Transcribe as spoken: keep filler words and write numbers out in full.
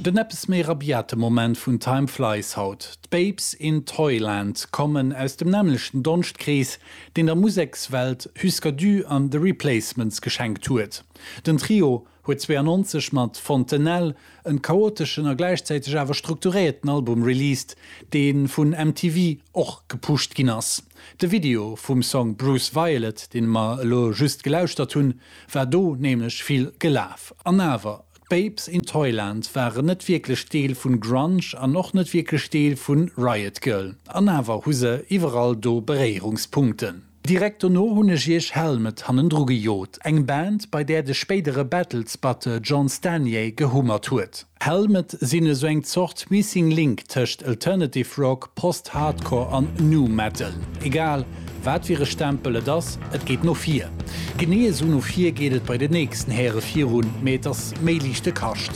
Den eppes méi rabiate Moment vun Time Flies haut. D'Babes in Toyland kommen aus dem nämmlechten Donschtkrees, deen der Musekswelt Hüsker Dü an The Replacements geschenkt huet. Den Trio huet zwouennonzeg mat Fontanelle en chaoteschen a gläichzäiteg awer strukturéierten Album released, dee vun M T V och gepusht ginn ass. De Video vum Song Bruce Violet, dee mer elo just gelauschtert hunn, war do nämlech vill gelaf. An awer, Babes in Toyland waren net wierklech Deel vun Grunge an och net wierklech Deel vun Riot Grrrl. An awer hu se iwwerall do Beréierungspunkten. Direkt dono hunn ech iech Helmet hannendru gejot, eng Band, bei där de spéidere Battles-Batteur John Stanier gehummert huet. Helmet sinn esou eng Zort Missing Link tëscht Alternative Rock, Post-Hardcore an Nu Metal. Egal, wat fir e Stempel et ass, et geet no vir. Genee esou no vir geet et bei den nächsten Häre virun, mee et ass méi liichte Kascht.